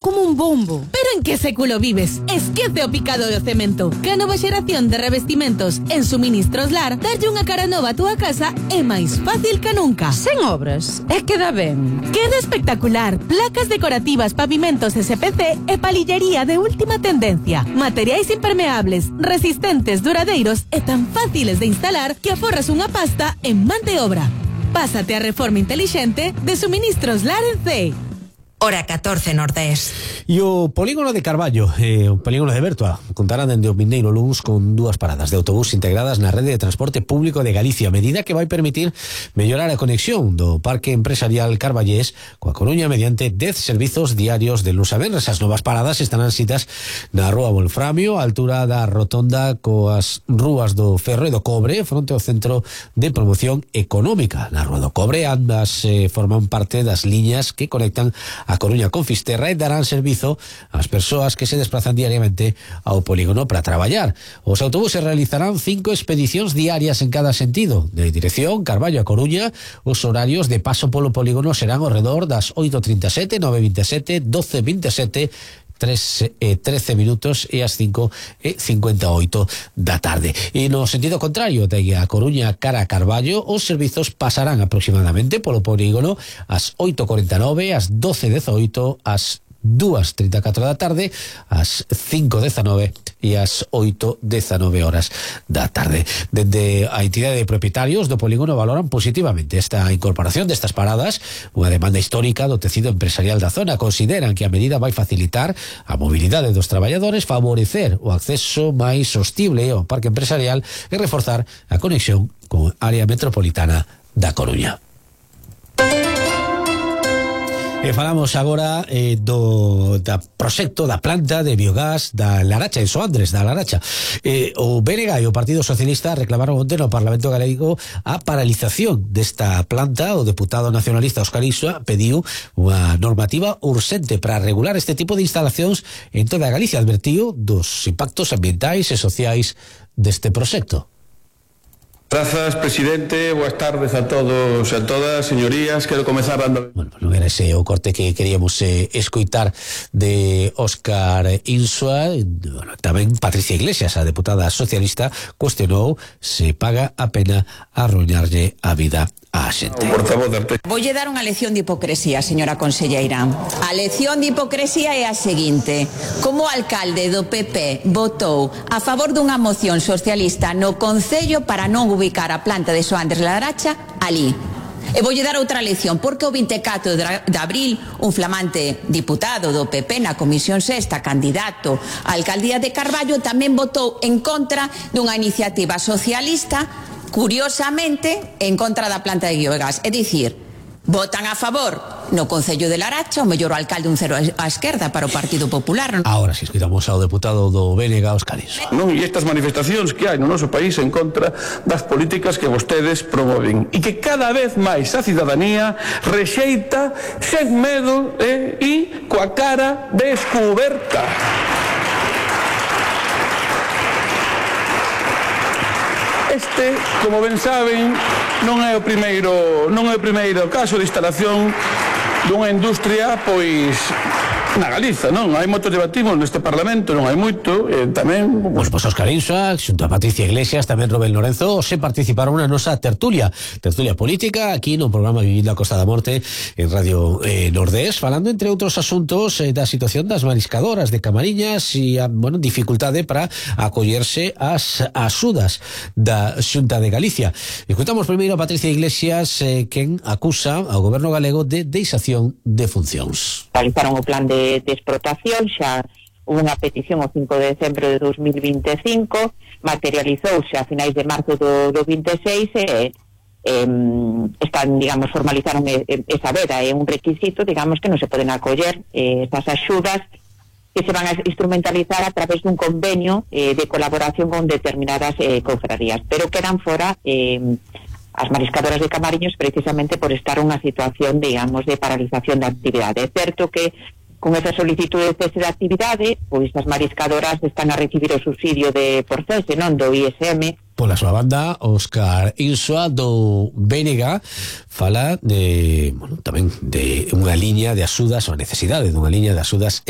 como un bombo. Pero en que século vives? Esquece o picado de cemento. Que a nova xeración de revestimentos en Suministros Lar darlle unha cara nova a túa casa é máis fácil que nunca. Sen obras, é que dá ben. Queda espectacular. Placas decorativas, pavimentos SPC e palillería de última tendencia. Materiais impermeables, resistentes, duradeiros e tan fáciles de instalar que aforras unha pasta en man de obra. Pásate a reforma intelixente de Suministros Lar en CEI. Hora 14 Nordés. E o polígono de Carballo, o polígono de Bertua, contará dende o vindeiro luns con 2 paradas de autobús integradas na rede de transporte público de Galicia, medida que vai permitir mellorar a conexión do parque empresarial carballés coa Coruña mediante 10 servizos diarios de luns a venres. As novas paradas estarán citas na Rúa Wolframio, a altura da rotonda coas rúas do Ferro e do Cobre, fronte ao Centro de Promoción Económica. Na Rúa do Cobre ambas forman parte das liñas que conectan a Coruña con Fisterra e darán servizo ás persoas que se desplazan diariamente ao polígono para traballar. Os autobuses realizarán 5 expedicións diarias en cada sentido. De dirección Carballo a Coruña, os horarios de paso polo polígono serán ao redor das 8:37, 9:27, 12:27, 13 minutos e as 5:58 da tarde. E no sentido contrario, de a Coruña cara a Carballo, os servizos pasarán aproximadamente polo polígono ás 8:49, ás 12:18, ás 2:34 da tarde, ás 5:19 e ás 8:19 horas da tarde. Dende a entidade de propietarios do polígono valoran positivamente esta incorporación destas paradas, unha demanda histórica do tecido empresarial da zona. Consideran que a medida vai facilitar a mobilidade dos traballadores, favorecer o acceso máis sostible ao parque empresarial e reforzar a conexión con a área metropolitana da Coruña. E falamos agora do proxecto da planta de biogás da Laracha, en Soandres, da Laracha. O BNG e o Partido Socialista reclamaron onte no Parlamento Galego a paralización desta planta. O deputado nacionalista Óscar Isua pediu unha normativa urxente para regular este tipo de instalacións en toda Galicia. Advertiu dos impactos ambientais e sociais deste proxecto. Grazas, presidente. Boas tardes a todos e a todas, señorías. Quero comezar dando... Bueno, non era ese o corte que queríamos escoitar de Óscar Insua. Bueno, tamén Patricia Iglesias, a deputada socialista, cuestionou se paga a pena arruinarlle a vida a xente. Voulle dar unha lección de hipocresía, señora conselleira. A lección de hipocresía é a seguinte: como o alcalde do PP votou a favor dunha moción socialista no Concello para non ubicar a planta de Soandres Laracha ali. E voulle dar outra lección, porque o 24 de abril un flamante diputado do PP na Comisión Sexta, candidato á alcaldía de Carballo, tamén votou en contra dunha iniciativa socialista, curiosamente, en contra da planta de biogás. É dicir, votan a favor no Concello de Laracha, o mellor alcalde un cero á esquerda para o Partido Popular. Ahora si escoitamos ao deputado do BNG, Óscar Isua. Non, e estas manifestacións que hai no noso país en contra das políticas que vostedes promoven e que cada vez máis a cidadanía rexeita sen medo e coa cara descuberta. Este, como ben saben, non é o primeiro caso de instalación dunha industria, pois, na Galiza, non? Hai moito debatimos neste Parlamento, non hai moito, tamén... Pois Óscar Insua, xunto a Patricia Iglesias, tamén Rubén Lorenzo, se participaron na nosa tertulia política, aquí no programa Vivindo a Costa da Morte, en Radio Nordés, falando, entre outros asuntos, da situación das mariscadoras de Camariñas e a, dificultade para acollerse ás axudas da Xunta de Galicia. Escutamos primeiro a Patricia Iglesias, quen acusa ao goberno galego de deixación de funcións. Realizaron o plan de explotación, xa hubo unha petición o 5 de decembro de 2025, materializouse a finais de marzo do 26 están, digamos, formalizaron esa veda, é un requisito, digamos, que non se poden acoller esas axudas que se van a instrumentalizar a través dun convenio de colaboración con determinadas confrarías, pero quedan fora as mariscadoras de Camariños precisamente por estar unha situación, digamos, de paralización da actividade. É certo que con esa solicitude de cese de actividade, pois as mariscadoras están a recibir o subsidio por cese, non, do ISM, Pola súa banda, Óscar Insua do BNG fala de, bueno, tamén de unha liña de axudas, ou a necesidade dunha liña de axudas